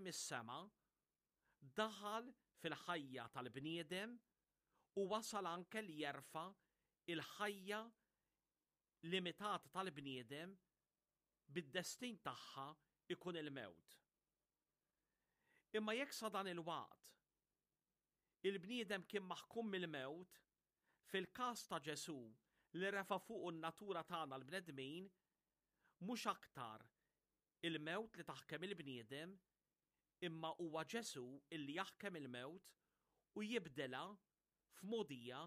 niżel mis-sema, daħal fil-ħajja tal-bniedem u wasal anke li jerfa' l-ħajja limitata tal-bniedem bid-destin tagħha jkun il-mewt. Imma jekk sa dan il-waqt il-bniedem kien maħkum mill-mewt, fil-każ ta' Ġesù li refa' fuqu n-natura tagħna l-bnedmin, mhux aktar il-mewt li taħkem il-bniedem, imma huwa Ġesù illi jaħkem il-mewt u jibdilha f'mogħdija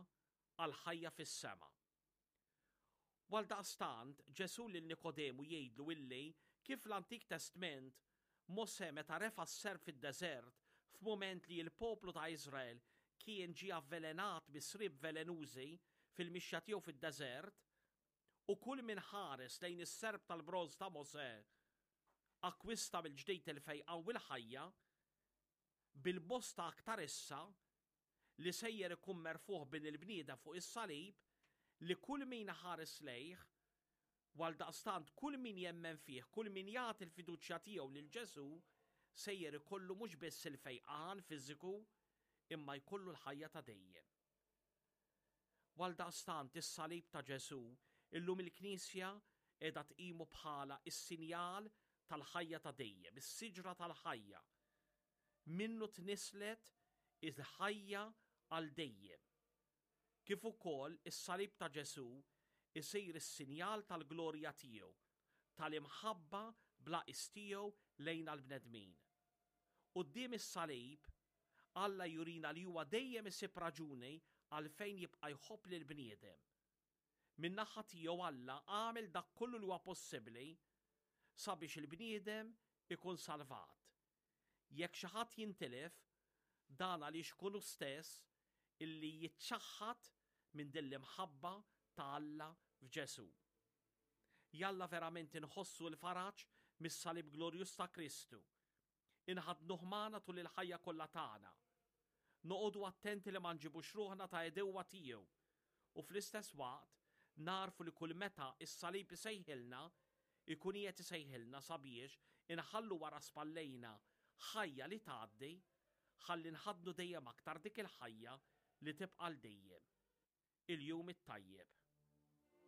għall-ħajja fis-sema. U għaldaqstant, Ġesù lil Nikodemu jgħidlu illi kif fl-Antik Testment, Mosè meta refa' s-serp fid-deżert f'mument li l-poplu ta' Iżrael kien ġie avvelenat bi sriep velenużi fil-mixja tiegħu fid-deżert, u kull min ħares lejn is-serp tal-bronż ta' Mosè akkwista mill-ġdid il-fejqan u l-ħajja, bil-bosta aktar issa li sejjer ikun merfugħ Bin il-bniedem fuq is-salib, li kull min iħares lejh, u għaldaqstant kull min jemmen fih, kull min jagħti l-fiduċja tiegħu lil Ġesù, sejjer ikollu mhux biss il-fejqan fiżiku, imma jkollu l-ħajja ta' dejjem. U għaldaqstant is-salib ta' Ġesù illum il-Knisja qiegħda tqimu bħala s-sinjal tal-ħajja ta' dejjem, is-siġra tal-ħajja. Minnu tnisslet il-ħajja għal dejjem. Kif ukoll is-salib ta' Ġesù isir is-sinjal tal-glorja tiegħu, tal-imħabba bla qies tiegħu lejna l-bnedmin. Quddiem is-salib, Alla jurina li huwa dejjem isib raġuni għalfejn jibqa' jħobb lill-bniedem. Min-naħa tiegħu Alla għamel dak kollu li huwa possibbli sabiex il-bniedem ikun salvat. Jekk xi ħadd jintilef, dan għaliex ikun hu stess illi jiċċaħħad minn din l-imħabba ta' Alla f'Ġesù. Jalla verament inħossu l-faraġ mis-salib glorjuż ta' Kristu Inħaddnuh magħna tul il-ħajja kollha tagħna. Noqogħdu attenti li ma nġibux ruħna ta' għedewwa tiegħu u fl-istess waqt nagħrfu li kull meta s-salib isejħilna, ikun qiegħed isejħilna sabiex inħallu wara spallejna ħajja li tgħaddi ħalli nħaddnu dejjem aktar dik il-ħajja li tibqa' għal dejjem. Il-jum it-tajjeb.